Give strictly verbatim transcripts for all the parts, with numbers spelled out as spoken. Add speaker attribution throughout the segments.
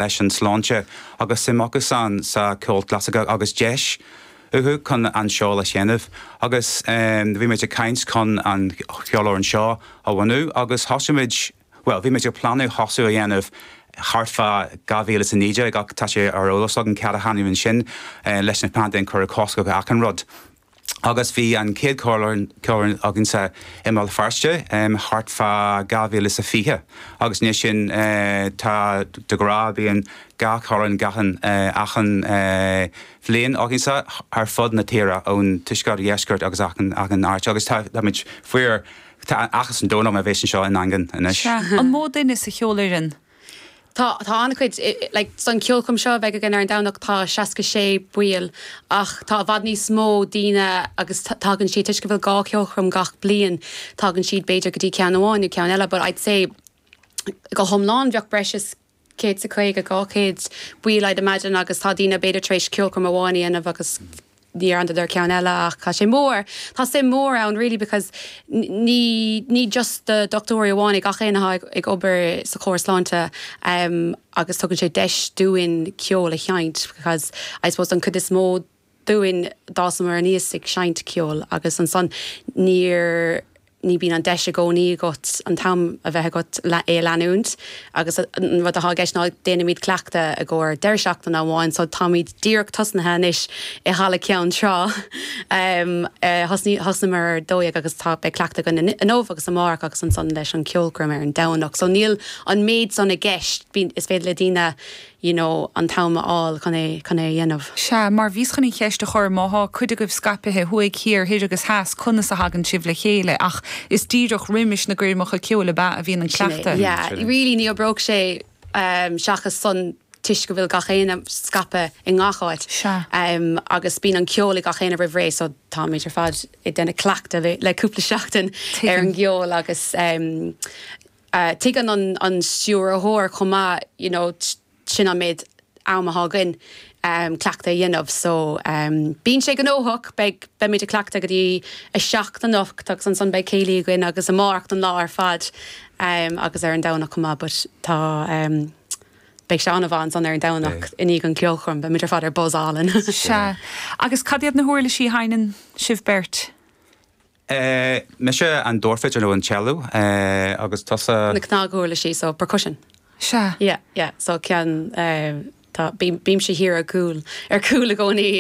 Speaker 1: Leis an sláinte agus suim acusan sa ceol clasaiceach agus deis uathu chun an ceol a sheinm agus bhí muid ag caint chun an cheolfhoireann seo a bhunú agus thosaigh muid, bhuel, bhí muid ag pleanáil thosú a dhéanamh thart fá dhá mhíle is a naoi déag ach tá sé ar eolas againn cad a tháinig ansin leis na paindéim cuireadh cosc ar achan rud. Agus bhí an chéad cheolchoirm againne i mBéal Feirste thart fá dhá mhíle is a fiche agus anois sin tá de ghnáth bíonn dhá cheolchoirm achan achan bhliain againne ar fud na tíre ón tuaisceart dheisceart agus achan achan áit agus tá táimid fíor tá áthas an domhain orm a bheith anseo i nDaingean anois.
Speaker 2: Sea. An mó duine sa cheolfhoireann?
Speaker 3: Tá tá an-chuid like san ceolchoirm seo a bheidh againn ar an Domhnach tá seasca sé baill ach tá i bhfad níos mó daoine agus tagann siad toisc go bhfuil dhá cheolchoirm gach bliain tagann siad b'fhéidir go dtí ceann amháin nó ceann eile but I'd say go hiomlán bheadh breis is céad is caoga dhá chéad baill I'd imagine agus tá daoine b'fhéidir tar éis ceolchoirm amháin a dhéanamh agus níor fhanadar ceann eile ach tá sé mór. Tá suim mór ann really because ní ní just do dochtúirí amháin é gach éinne atá ag obair sa chóras sláinte um, agus tugann sé deis dúinn ceol a sheinnt because I suppose an cuid is mó dúinn d'fhásamar aníos ag seinnt ceol agus ansan níor ní bíonn an deis i gcónaí agat an t-am a bheith agat le é a leanúint agus an rud atá i gceist ná déanaimid cleachtadh i gcomhair deireadh seachtaine amháin so táimid díreach tosnaithe anois i Halla Ceann Trá. Thosnaíomar ar dó dhéag agus tá beidh cleachtadh againn inniu agus amárach agus ansan leis an ceolchoirm ar an Domhnach. So níl an méid san i gceist, is féidir le daoine you know, an t-am a fháil chun é chun é a dhéanamh.
Speaker 2: Sea, mar bhíos chun an cheist a chur má thá cuid agaibh scaipthe thuaidh, thiar, thoir agus theas, conas a thagann sibh le chéile ach is díreach roimis na gcoirmeacha ceoil ab ea a bhíonn an cleachtadh.
Speaker 3: Yeah, really ní oibreodh sé um, seachas san toisc go bhfuil gach éinne scaipthe i ngach áit.
Speaker 2: Sea.
Speaker 3: Um, agus bíonn an ceol ag gach éinne roimh ré so táimid ar fad ag déanamh cleachtadh le, le cúpla seachtain ar an gceol agus um, uh, tuigeann an, an stiúrthóir chomh maith, you know, sin an méid am atá againn um, cleachtadh a dhéanamh so um, bíonn sé gnóthach beidh beimid ag cleachtadh go dtí a seacht anocht agus ansan beidh céilí againn agus amárach an lá ar fad um, agus ar an Domhnach chomh maith but tá um, beidh sé an-mhaith ansan ar an Domhnach i ndiaidh an ceolchoirm beimid ar fad ar buzz álainn.
Speaker 2: Sea. Agus cad iad na huirlisí a sheinneann sibh beirt?
Speaker 1: Uh, mise an dordveidhil nó an cello uh, agus tusa
Speaker 3: Na cnaguirlisí so percussion.
Speaker 2: Sea.
Speaker 3: Yeah, yeah, so ceann uh, tá bímse thiar ar cúl ar cúl i gcónaí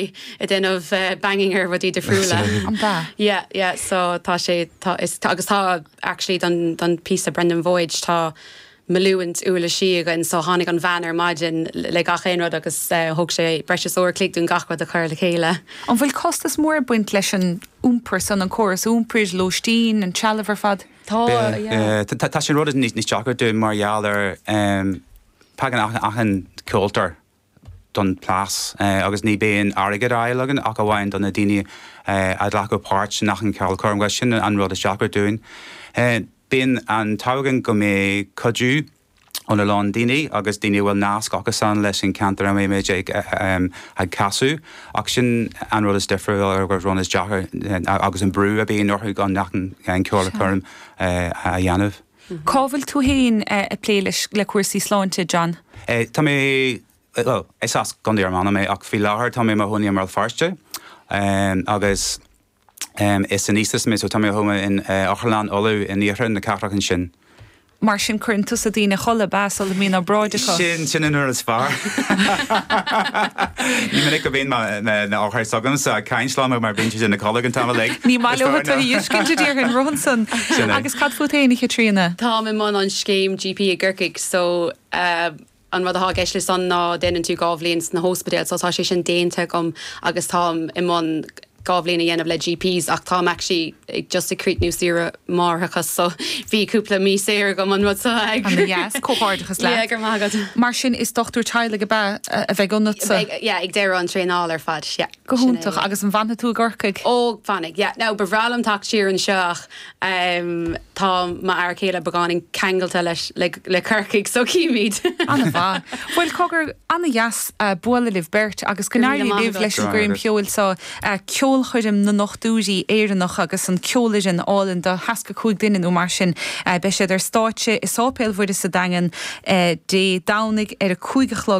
Speaker 3: ag déanamh uh, banging ar rudaí difriúla.
Speaker 2: An bea?
Speaker 3: Yeah, yeah, so tá sé tá, is, tá, agus tá actually don, don píosa Brendan Voyage tá milliún uirlisí againn so tháinig an bhean ar maidin le gach aon rud agus uh, thóg sé breis is uair chloig dúinn gach rud a chur le chéile.
Speaker 2: An bhfuil costas mór ag baint leis an iompar san an córas iompair, lóistín, an trealamh ar fad?
Speaker 3: Tá yeah.
Speaker 1: Tá sin rud níos níos deacra dúinn mar gheall ar um, pagan achan ceoltóir don plás uh, agus ní bíonn airgead á fháil againn ach amháin do na daoine uh, a ghlacadh páirt in achan ceolchoirm agus sin an rud is deacra dúinn. Uh, bíonn an t-ádh againn go mbeidh cuidiú óna lán daoine agus daoine bhfuil nasc acusan leis an ceantar a mbeimid ag um, ag casadh ach sin an rud is difriúil agus rud is deacra agus an brú a bhíonn orthu gan achan an ceolchoirm uh, a dhéanamh.
Speaker 2: Cá bhfuil tú féin ag plé leis le cúrsaí sláinte, John?
Speaker 1: Eh, tá mé well, is as Contae Fhear Manach mé ach faoi láthair tá mé i mo chónaí i mBéal Feirste um, agus um, is anaestaist mé so tá mé thoma in uh, Otharlann Uladh in iarthar na cathrach ansin.
Speaker 2: Mar sin cuireann tusa daoine a chodladh ab ea sula mbíonn obráid acu.
Speaker 1: Sin sin an rud is fearr. Ní minic go mbíonn na othair s'agamsa ag caint liom mar bíonn siad ina codladh an t-am uilig.
Speaker 2: Ní maith leo tú a fheiscint déarfainn roimhe san.
Speaker 1: Sin é.
Speaker 2: Agus cad fút féin a Chaitríona?
Speaker 3: Táim i mbun an scéim G P i gCorcaigh so uh, an rud atá i gceist le san ná déanann tú dhá bhliain sna hospidéal, so tá sé sin déanta agam agus táim i mbun dhá bhliain a dhéanamh le G Ps ach táim actually ag just ag críochnú saoire máithreachais so bhí cúpla mí saor agam an rud seo ag.
Speaker 2: An-dheas, comhghairdeachas
Speaker 3: Yeah,
Speaker 2: leat.
Speaker 3: go raibh maith agat.
Speaker 2: Mar sin is dochtúir teaghlaigh ab ea a bheidh ionatsa.
Speaker 3: Ag- yeah, ag deireadh an traenáil ar fad, yeah.
Speaker 2: Go
Speaker 3: Sin é,
Speaker 2: hiontach
Speaker 3: yeah.
Speaker 2: agus an bhfanfaidh tú i gCorcaigh.
Speaker 3: Ó fanfaidh, yeah. Now ba bhreá liom teacht siar anseo ach um, tá m'fhear céile beagáinín ceangailte leis le, le Corcaigh so címid.
Speaker 2: An-mhaith. Bhuel cogar an-dheas uh, bualadh libh beirt agus go
Speaker 3: Go míle
Speaker 2: n-éirí
Speaker 3: maith
Speaker 2: libh
Speaker 3: agat.
Speaker 2: leis an
Speaker 1: Go raibh
Speaker 2: gcoirm
Speaker 1: maith
Speaker 2: cheoil so uh, ceol ceolchoirm na nDochtúirí Éireannach agus an ceolfhoireann álainn de sheasca cúig duine nó mar sin beidh siad ar stáitse i Sáipéal Mhuire sa Daingean Dé Domhnaigh ar a cúig a chlog.